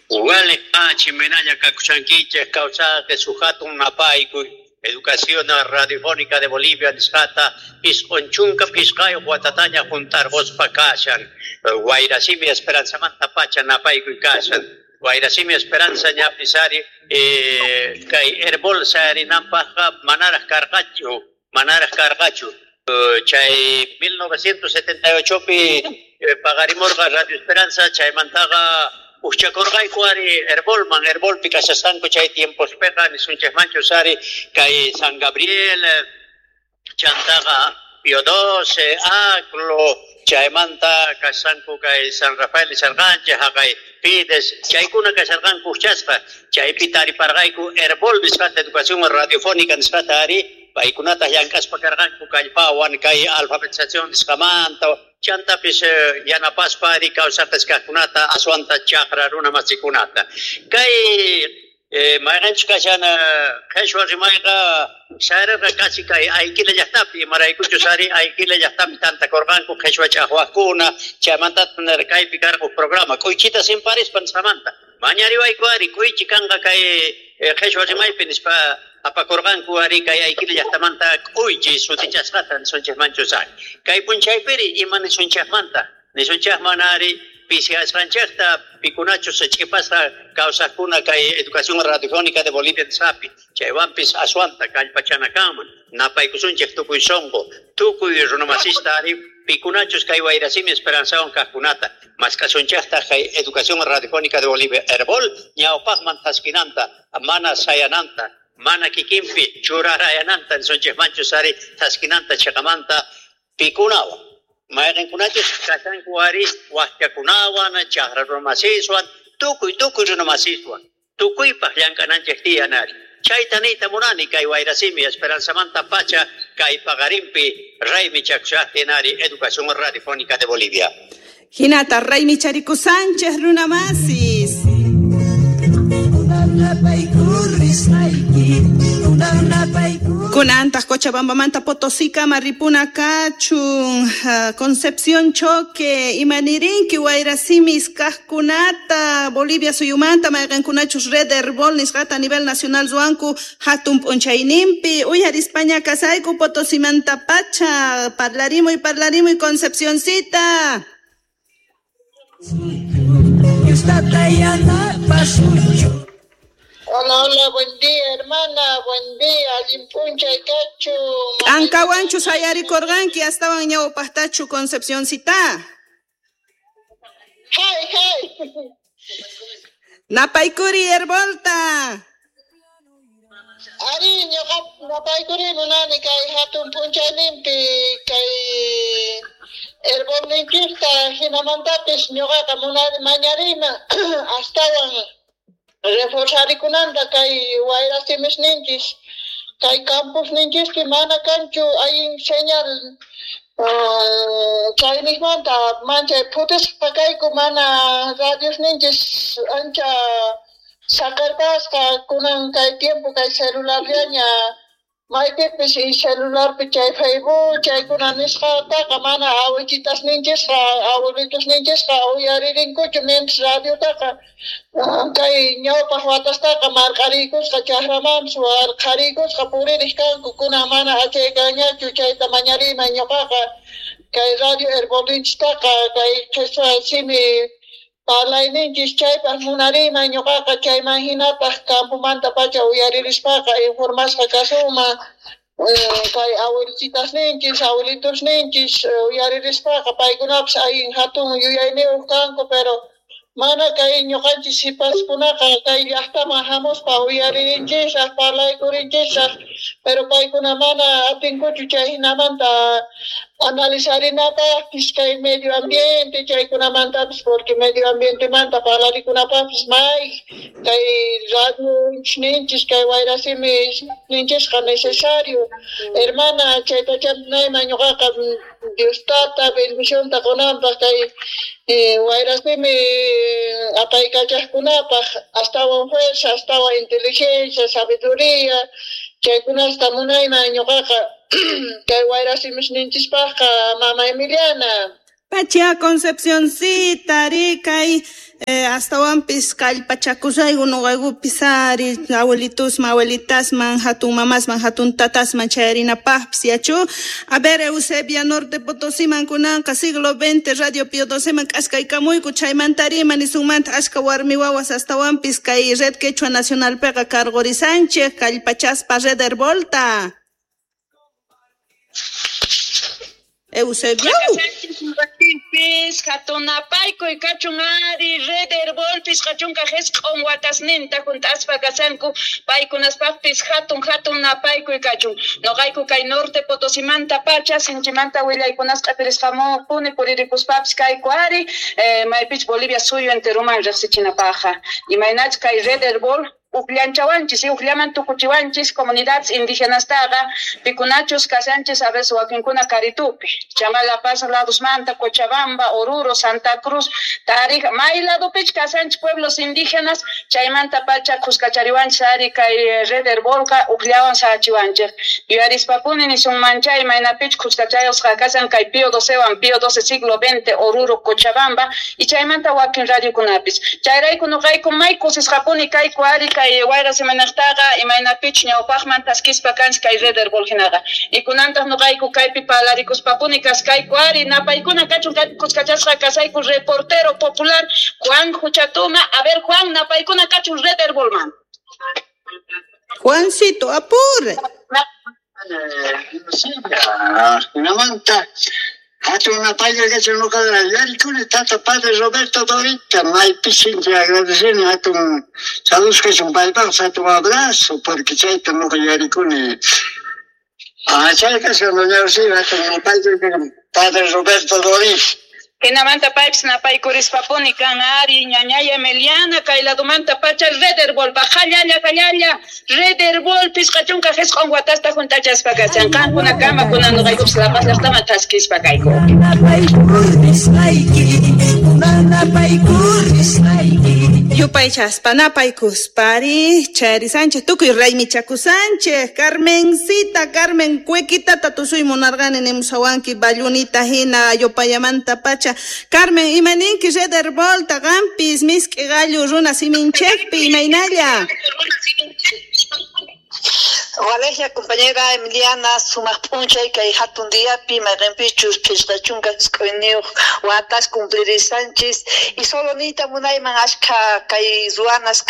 Wale chimenalla kakushankichik kawsaqe suhatun napaykuy Educación Radiofónica de Bolivia nisqata 95 watataña juntarquspa kashan. Wayrasimi Esperanzamanta pacha napaykuy kashan. Wayrasimi Esperanza ñapis ari kay Herbol sayarinanpaqqa manaraq karqachu, manaraq karqachu. Chay 1978pi paqarimurqa Radio Esperanza, chaymantaqa ujchakurqayku ari Herbolman, Herbolpi kashasqanku chay tiempospiqa nisunchikmanchus ari kay San Gabriel, chantaqa Pío XII, Aclo, chaymanta kashanku kay San Rafael nisharqanchik, haqay Fides, chaykuna kasharqanku ujchasqa, chaypi tariparqayku Herbol nisqata educación radiofónica nisqata ari, paykunata llank'aspa karqanku kallpawan kay alfabetización nisqamanta, chantapis yanapaspa ari kawsaqis kaqkunata aswanta chaqra runa masikunata. Kay mayqanchus kashan qhichwa rimayqa sayarqa kasi kay Ayquila llaqtapi, imaraykuchus ari Ayquila llaqtapi tantakurqanku qhichwa ch'aqwaqkuna, chaymanta kaypi karqa huk programa k'uychita simparispa nisqamanta. Mañariwayku ari k'uychi kanqa kay qhichwa rimaypi nispa apakurqanku ari kay Ayquila llaqtamanta k'uychi sutichasqata nisunchikmanchus ari. Kay p'unchaypiri ima nisunchikmanta? Nisunchikman ari pisiasqanchikta pikunachus ch'ipasqa kawsaqkuna kay Educación Radiofónica de Bolivia nisqapi, chaywanpis aswanta kallpachana kanman, napaykusunchik tukuy sunqu, tukuy runamasista ari pikunachus kay Wayrasimi Esperanzawan kaqkunata, mask'asunchiktaq kay Educación Radiofónica de Bolivia Herbol ñawpaqman thaskinanta, mana sayananta, mana kikinpi churarayananta nisunchikmanchus ari thaskinanta chiqamanta pikunawan. Mayqinkunachus kashanku ari waqchakunawan, chaqra runamasiswan, tukuy tukuy runamasiswan, tukuypaq llank'ananchik tiyan ari. Chayta niyta munani kay Wayrasimi Esperanzamanta pacha kay paqarinpi raymichakushaqtin ari Educación Radiofónica de Bolivia. Hinata raymichariku Sánchez runamasis. Kunantaq Cochabambamanta Potosíkama ripuna kachun, Concepción Choque, imanirinki Wayrasimis kaqkunata Bolivia suyumanta mayqinkunachus Red Herbol nisqata a nivel nacional ruwanku hatun p'unchayninpi uyarispaña kasayku Potosimanta pacha parlarimuy parlarimuy Concepcioncita. Hola, hola, buen día, hermana, buen día, allin p'unchay kachu. K'ankawanchu sayarikurqanki astawan ñawpaqtachu Concepcioncita? Hay, hay. Napaykuri Herbolta. Ari, ñuqa napaykuri munani kay hatun p'unchayninpi kay Herbolninchikta hinamantapis ñuqaqa munani mañariyman astawan reforzarikunanta kay wayrasimisninchis kay campusninchispi mana kanchu allin señal chayniqmanta manchay phutisqa kayku mana radiosninchis ancha saqerpasqa kunan kay tiempo kay celularllaña maypipis y celularpi chay Facebook chaykuna nisqataqa mana awichitasninchisqa abuelitusninchisqa uyaririnkuchu mientras radiotaqa kay ñawpaq watastaqa marq'ariykusqa chakramanpis warqhariykusqa puririq kanku kunan mana achaykanñachu chayta mañariyman ñuqaqa kay radio Herbolinchistaqa kay qhichwa simi parlayninchis chaypaq munariyman ñuqaqa chayman hinataq campomanta pacha uyaririspaqa informasqa kasunman kay abuelitasninchis abuelitusninchis uyaririspaqa paykunapis allin hatun yuyayniyuq kanku pero mana kay ñuqanchis sipaskunaqa kay llaqtaman hamuspa uyaririnchisraq parlaykurinchishaq pero paykuna mana atinkuchu chay hinamanta analizarinapaqpis kay medio ambiente chaykunamantapis porque medio ambientemanta parlarikunapaqpis may kay radio ninchis kay wayrasimi ninchisqa necesario hermana chaytacha nayman ñuqaqa Dios tata bendicionta qunanpaq kay wayrasimi apaykachaqkunapaq astawan fuerza astawan inteligencia sabiduría chaykunasta munayman ñuqaqa kay wayrasimisninchispaqqa mama Emiliana. Pacha Concepcioncita, ari kay Astawanpis kallpachakusayku nuqaykupis ari abuelitusman, abuelitasman, hatun mamasman, hatun tatasman chayarinapaqpis yachu. A ver, Eusebia Norte Potosiman kunanqa siglo XX Radio Pío XII k'askaykamuyku chaymantarima nisunmanta ashka warmi wawas astawanpis kay Red Quechua Nacionalpiqa karqurisanchik kallpachaspa Red Herbolta. Eusebio. Pis hatunapaykuy kachun ari Red Herbolpis qachunka jisq'un watasninta junt'aspa kasanku paykunaspaqpis hatun hatun napaykuy kachun noqayku kay Norte Potosimanta pacha sinchimanta willaykunasqa q'ipirisqamupuni puririkuspapis kayku ari maypich Bolivia suyu enteruman riqsichinapaqqa imaynach kay Red Herbol uqllanchawanchis y uqllaman tukuchiwanchis comunidades indígenastaqa pikunachus kasanchis a veces wakinkuna Karitupi, Chama La Paz ladosmanta, Cochabamba, Oruro, Santa Cruz, Tarija, may ladopich kasanchis pueblos indígenas chaymanta pacha kuskachariwanchis ari kay Red Herbolqa uqllawan sachiwanchik yuyarispapuni nisunmanchay maynapich kuskachayusqa kasan kay Pío XII Pío XII siglo XX Oruro, Cochabamba y chaymanta wakin radiokunapis chayrayku nuqayku may kusisqapuni kayku ari kay wayra semanaqtaqa imaynapich ñawpaqman taskispa kanchik kay Red Herbol hinaqa y kunantaq nuqayku kaypi palarikuspapuni kaskayku ari napaykuna kachun kaypi kuskachasqa kasayku reportero popular Juan Juchatuma. A ver Juan, napaykuna kachun Red Herbolman. Juancito, apure. Hinamanta hatun napaykuy kachun nuqa yarikuni tata padre Roberto Dorita maypi sinchi agradeceni hatun saludos kachun paypaq hatun abrazo porque chayta nuqa yarikuni. Chay kachun doña Eusebia hatun napaykuy kachun padre Roberto Dorita. Hinamanta paypis napaykurishpapuni kan ari ñañaya Emiliana kay ladumanta pacha Red Herbolpa qallalla qallalla Red Herbol pisqachunka jisq'un watasta juntachaspa kasan qankuna kama kunan nuqaykupis La Paz llaqtaman taskispa kayku. Yupaychaspa napaykuspari chayarisanchik tukuy raymichakusanchik Carmencita Carmen Cuequitata tusuy munarqani nimusawanki ballunita hina yupayamanta pacha Carmen imaninki Red Herbolta qampis misk'i gallu runa siminchikpi imaynalla. Waleja compañera Emiliana sumaq p'unchay kay hatun diapi mayqinpichus phisqa chunka isq'uyniyuq watas cumplirisanchis y solo niyta munayman ashkha kay ruwanas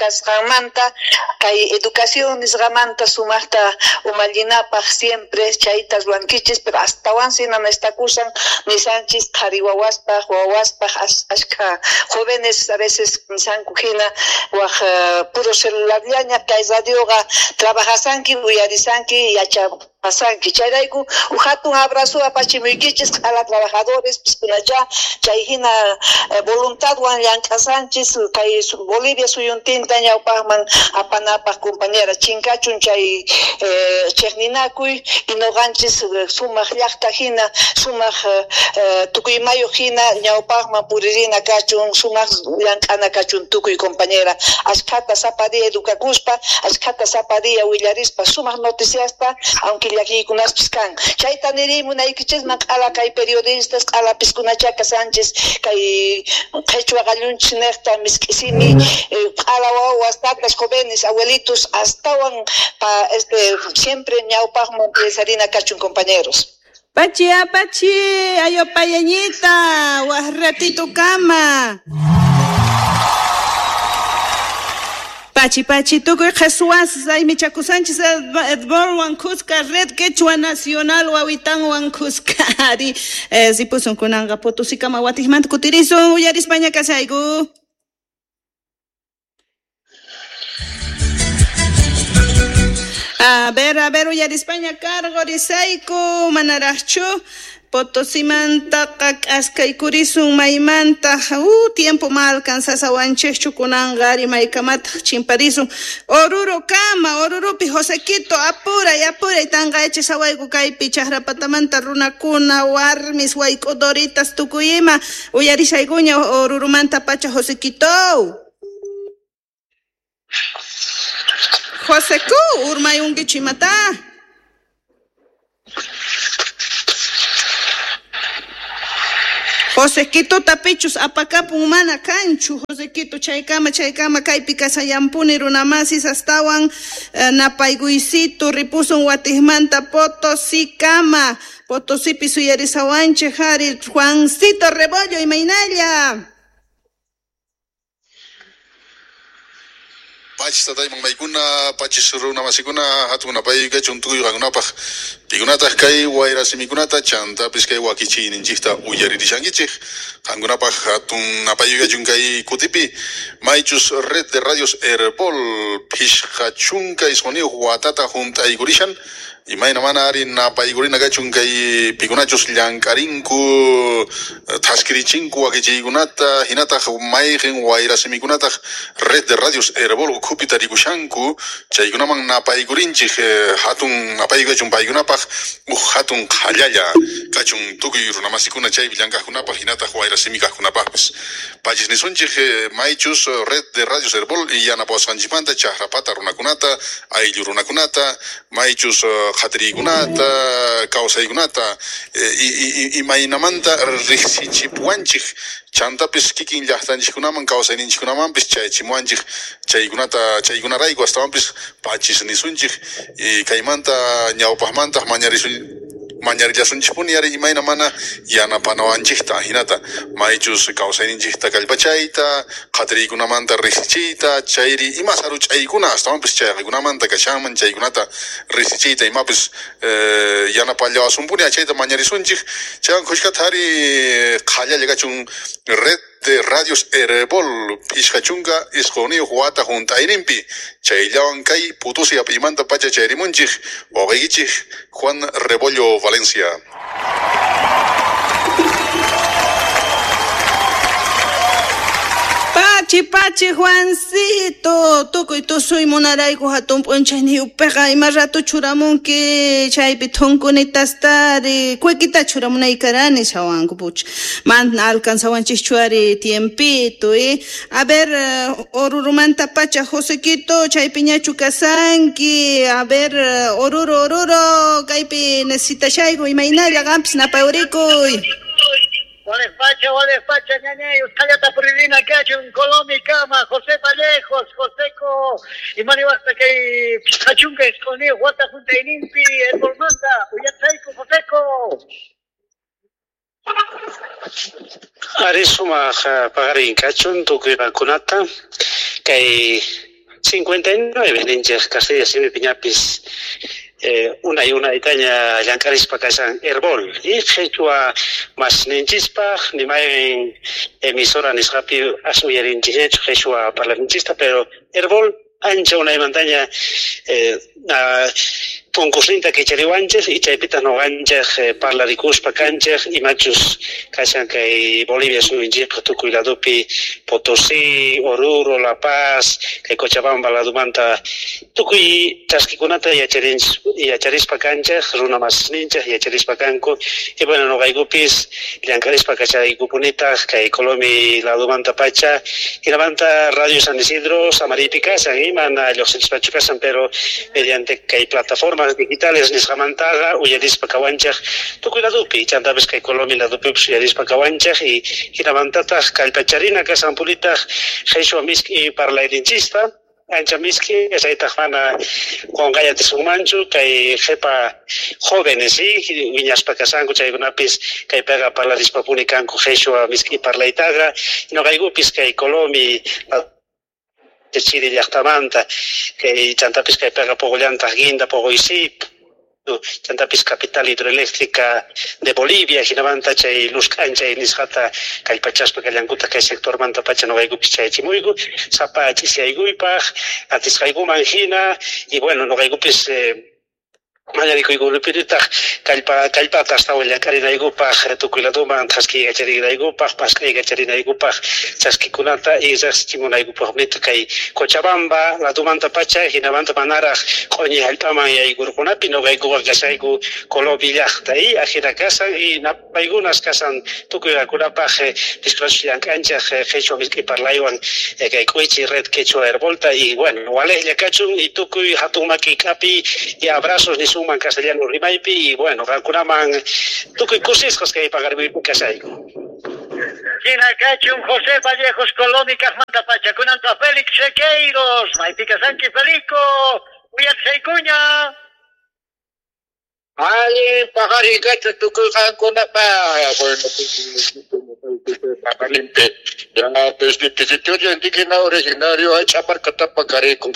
kasqanmanta kay educación nisqamanta sumaqta umallinapaq siempre chayta ruwankichis pero astawansi nanaystakusan nisanchis qhari wawaspaq wawaspaq ashkha jóvenes a veces nisanku hina waq puro celularllaña kay radioqa trabajasanki uyarisanki yachapasanki chayrayku hatun abrazo apachimuykichis q'ala trabajadores piskunacha chay hina voluntadwan llank'asanchis kay Bolivia suyuntinta ñawpaqman apanapaq compañera chinkachun chay chiqninakuy y nuqanchis sumaq llaqta hina sumaq tukuymayuq hina ñawpaqman puririna kachun sumaq llank'ana kachun tukuy compañera ashkhata sapa día edukakuspa ashkhata sapa día willarispa sumaq noticiasta aunque llakiykunaspis kan chayta niriy munaykichisman q'ala kay periodistas q'ala piskunacha kasanchis kay qhichwa qallunchis niqta misk'isimi q'ala wawas tatas jóvenes abuelitos astawan pa siempre ñawpaqman piensarina kachun compañeros. Pachi apachi ayopayañita waq ratito kama. Pachi pachi tukuy qheswas aymichakusanchis Edborwan kuska Red Quechua Nacional wawitanwan kuska ari ripusun kunanqa Potosikama watiqmanta kutirisun uyarispaña kasayku. A ver uyarispaña karqurisayku manaraqchu Potosimantaqa k'askaykurisun maymanta tiempo ma alcanzasawanchikchu kunanqa ari maykamataq chimparisun Oruro kama Orurupi Josequito apuray apuray tanqayachisawayku kaypi chaqrapatamanta runakuna warmis wayk'udoritas tukuy ima uyarishaykuña Orurumanta pacha Josequito. Joseku urmayunkichu imata. José Quitota pichus apakapun mana kanchu. José Quito chaykama kaypi kasayampuni runamasis astawan napaykuysitu ripusun watijmanta Potosíkama. Potosípi suyarisawanchik hari Juancito Rebollo imaynalla. Pachis tatayman maykuna, pachis runamasikuna, hatun napayqa tukuy qankunapaq pikunataq kay wayrasimikunata chantapis kay wakichiyninchikta uyaririshankichik qankunapaq hatun napayqa kay kutipi maychus Red de Radios Herbol 59 watata hunt'aykurishan imayna mana ari napaykurina kachun kay pikunachus llank'arinku thaskirichinku wakichiykunata hinataq mayqin wayrasimikunataq Red de Radios Herbol ukhupi tarikushanku chaykunaman napaykurinchik hatun napaykachun paykunapaq uj hatun qhallalla kachun tukuy runamasikuna chaypi llank'aqkunapaq hinataq wayrasimi kaqkunapaqpis pachis nisunchik maychus Red de Radios Herbol yanapawasqanchikmanta chaqrapata runakunata ayllu runakunata maychus qhatiriykunata kawsaykunata imaynamanta riqsichipuwanchik chantapis kikin llaqtanchikkunaman kawsayninchikkunamanpis chayachimuwanchik chaykunata chaykunarayku astawanpis pachis nisunchik kaymanta ñawpaqmantaq mañarillasunchikpuni ari imayna mana yanapanawanchikta hinata maychus kawsayninchikta kallpachayta qhatiriykunamanta riqsichiyta chayri ima saruch'aykuna astawanpis chayqikunamanta kashanman chaykunata riqsichiyta imapis yanapallawasumpuni achayta mañarisunchik chaywan khushkata ari qhallalla kachun Red de Radios Herbol 59 wata hunt'ayninpi chayllawan kay Potosí ap'imanta pacha chayrimunchik wawqiykichik Juan Rebollo Valencia. Pachi pachi Juancito tukuy tusuy munarayku hatun p'unchayniyupiqa ima rato churamunki chaypi thunkunitas-tari kuykita churamunaykarani shawanku pucha mana alcanzawanchikchu ari tiempito a ver Orurumanta pacha José Quito chaypiñachu kasanki a ver Oruro Oruro kaypi necesitashayku imaynalla qampis napayurikuy. Wales Pacha, ñañay, usqhallata puririna kachun, Colomi kama, José Vallejos, Joseco, imaniwaqta kay 59 wata hunt'ayninpi, Herbolmanta, uyachayku, Joseco. Ari sumaq paqarin kachun tukuy qankunata kay 59 ninchik Castilla simipi ñapis unay unaytaña llank'arispa kashan Herbol y qhichwa masninchispaq nimaynin emisora nisqapi as uyarinchikñachu qhichwa parlayninchista pero Herbol ancha unaymantaña punkusninta kichariwanchik y chaypitaq nuqanchik parlarikuspa kanchik imachus kashan kay Bolivia suyunchikqa tukuy ladupi Potosí, Oruro, La Paz, kay Cochabamba ladumanta tukuy chaskikunata yacharispa kanchik runa masninchik yacharispa kanku y bueno nuqaykupis llank'arispa kachaykupunitaq kay Colomi ladumanta pacha hinamanta Radio San Isidro Samaripi kashan mana lluqsinchispachu kashan pero mediante kay plataforma digitales nisqamantaqa uyarispa kawanchik tukuy ladupi chantapis kay Colomi ladupipis uyarispa kawanchik y hinamantataq kallpacharina kasanpunitaq qhichwa misk'i parlayninchista ancha misk'i chaytaq mana qunqay atisunmanchu kay qhipa jóvenes wiñaspa kasanku chaykunapis kaypiqa parlarispapuni kanku qhichwa misk'i parlaytaqa nuqaykupis kay Colomi chiri llaqtamanta kay chantapis kaypiqa puqullantaq Guinda Pogoysip chantapis capital hidroeléctrica de Bolivia hinamanta chay luz k'anchay nisqata kallpachaspa kallankuta kay sectormanta pacha nuqaykupis chayachimuyku sapa ch'isiyaykuypaq atisqaykuman hina y bueno nuqaykupis mañarikuykunapitaq kallpata astawan llank'arinaykupaq tukuy laduman thaskiykacharinaykupaq pask'aykacharinaykupaq chaskikunata y riqsichimunaykupaqmita kay Cochabamba ladumanta pacha hinamanta manaraq q'uñi hallp'aman yaykurqunapi nuqaykuqa kashayku Colomi llaqta y ajina kasan y napaykunas kasan tukuy qankunapaq piskunachus llank'anchik qhichwa misk'i parlaywan kay k'uychi Red Quechua Herbolta y bueno walejlla kachun y tukuy hatun maki k'api y abrazos nisunman castellano rimaypi y bueno qankunaman tukuy kusisqas kay paqarimuypi kashayku. Hina kachun José Vallejos Colón y kaqmanta pacha kunanqa Félix Sequeiros, maypi kasanki Felico, uyachaykuña. Allin paqarin kachun tukuy qankunapaq. Bueno, paqarinpi ya desde territorio indígena originario hay chamarcatapa carico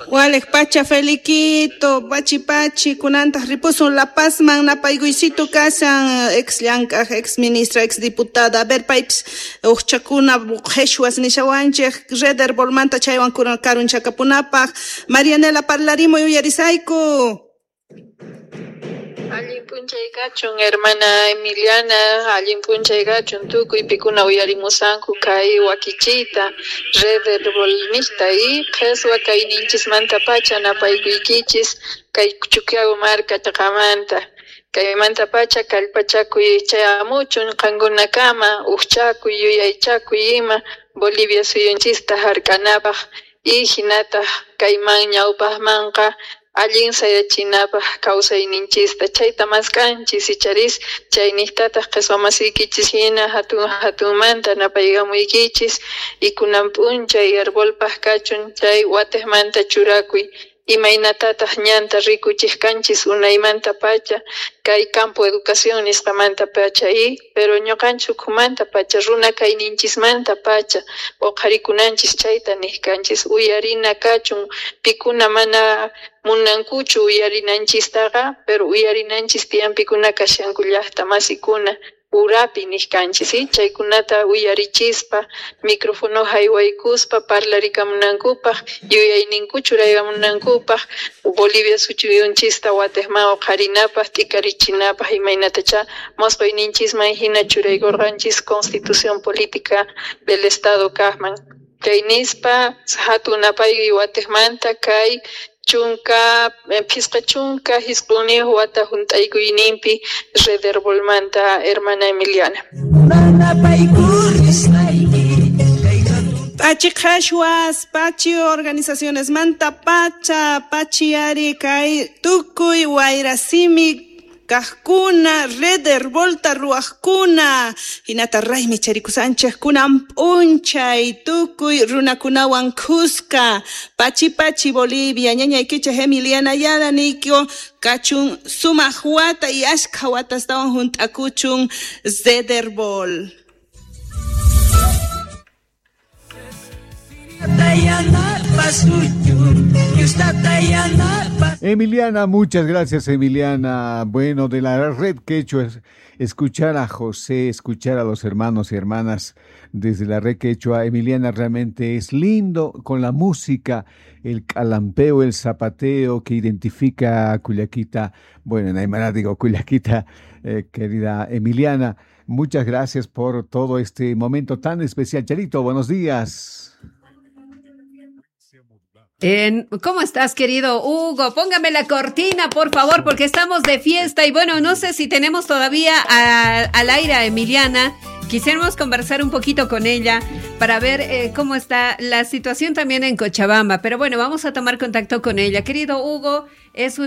Walej pacha Feliquito, pachi pachi, kunantaq ripusun La Pazman napaykuysitu kashan ex llank'aq, ex ministra, ex diputada. A ver paypis uqchakuna qhichwas nishawanchik Red Herbolmanta chaywan karunchakapunapaq. Marianela parlarimuy uyarisayku. Allin p'unchay kachun hermana Emiliana, allin p'unchay kachun tukuy pikuna uyarimusanku kay wakichiyta Red Herbolnista y qheswa kayninchismanta pacha napaykuykichis kay Chuquiago marka chaqamanta. Kaymanta pacha kallpachakuy chayamuchun qankunakama uqchakuy yuyaychakuy ima Bolivia suyunchista hark'anapaq y hinataq kayman ñawpaqmanqa allin sayachinapaq kawsayninchista chayta mask'anchis icharis chayniqtataq qheswa masiykichis hina hatun hatunmanta napaykamuykichis y kunan p'unchay herbolpaq kachun chay watiqmanta churakuy imaynatataq ñanta rikuchiq kanchis unaymanta pacha kay campo educación nisqamanta pacha y pero ñuqanchik ukhumanta pacha runa kayninchismanta pacha uqharikunanchis chayta niq kanchis uyarina kachun pikuna mana munankuchu uyarinanchistaqa pero uyarinanchis tiyan pikuna kashanku llaqta masikuna urapi niq kanchis ¿sí? Chaykunata uyarichispa micrófono haywaykuspa parlarikamunankupaq yuyayninku churaykamunankupaq Bolivia suyunchista watiqman uqharinapaq t'ikarichinapaq imaynatacha mosqoyninchisman hina churaykurqanchis Constitución Política del Estado kaqman kay nispa hatun napaykuy watiqmanta kay chunka phisqa chunka hisq'unniyuq wata hunt'aykuyninpi Red Herbolmanta hermana Emiliana. Pachi qhashwas, pachi organizaciones manta pacha, pachi ari kay tukuy wayrasimi kaqkuna, Red Herbolta ruwaqkuna, hinata raymi charikusanchik kunan p'unchay tukuy runakunawan khuska, pachi pachi Bolivia, ñañaykichik Emiliana Ayala niyko kachun sumaq wata y ashkha watastawan hunt'akuchun Red Herbol. Emiliana, muchas gracias, Emiliana. Bueno, de la Red Quechua, escuchar a José, escuchar a los hermanos y hermanas desde la Red Quechua, Emiliana, realmente es lindo con la música, el calampeo, el zapateo que identifica a Culiaquita. Bueno, en Aymara digo Culiaquita, querida Emiliana, muchas gracias por todo este momento tan especial. Charito, buenos días. ¿Cómo estás, querido Hugo? Póngame la cortina, por favor, porque estamos de fiesta y bueno, no sé si tenemos todavía al aire a Emiliana. Quisiéramos conversar un poquito con ella para ver cómo está la situación también en Cochabamba. Pero bueno, vamos a tomar contacto con ella. Querido Hugo, es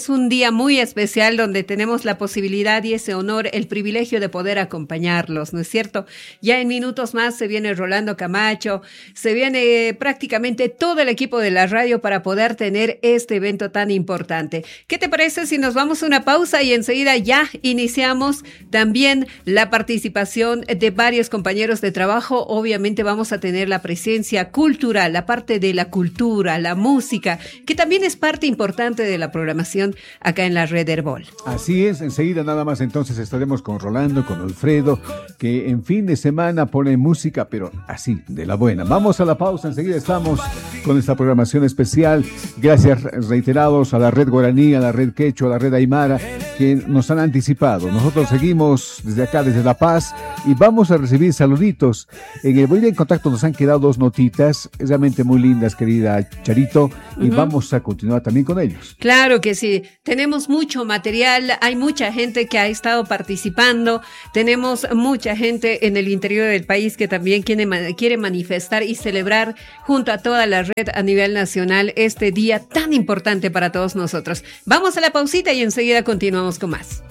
un día muy especial donde tenemos la posibilidad y ese honor, el privilegio de poder acompañarlos, ¿no es cierto? Ya en minutos más se viene Rolando Camacho, se viene prácticamente todo el equipo de la radio para poder tener este evento tan importante. ¿Qué te parece si nos vamos a una pausa y enseguida ya iniciamos también la participación de varios compañeros de trabajo? Obviamente vamos a tener la presencia cultural, la parte de la cultura, la música, que también es parte importante de la programación acá en la Red Herbol. Así es, enseguida nada más entonces estaremos con Rolando, con Alfredo, que en fin de semana pone música, pero así, de la buena. Vamos a la pausa, enseguida estamos con esta programación especial. Gracias reiterados a la Red Guaraní, a la Red Quechua, a la Red Aymara, que nos han anticipado. Nosotros seguimos desde acá, desde La Paz, y vamos a recibir saluditos. En el Bolivia en Contacto nos han quedado dos notitas realmente muy lindas, querida Charito, y vamos a continuar también con ellos. Claro que sí, tenemos mucho material, hay mucha gente que ha estado participando, tenemos mucha gente en el interior del país que también quiere manifestar y celebrar junto a toda la red a nivel nacional este día tan importante para todos nosotros. Vamos a la pausita y enseguida continuamos con más.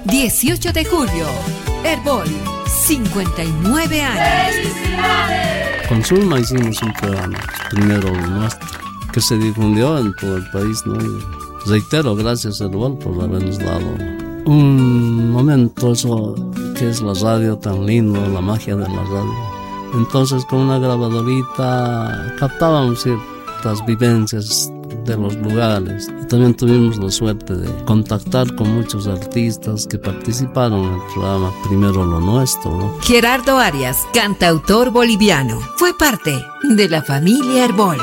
18 de julio, Herbol, 59 años. ¡Felicidades! Con Zulma hicimos un programa, primero nuestro, que se difundió en todo el país, ¿no? Y reitero, gracias Herbol por habernos dado un momento, eso que es la radio tan lindo, la magia de la radio. Entonces con una grabadorita captábamos ciertas vivencias de los lugares. Y también tuvimos la suerte de contactar con muchos artistas que participaron en el programa Primero lo Nuestro, ¿no? Gerardo Arias, cantautor boliviano, fue parte de la familia Herbol.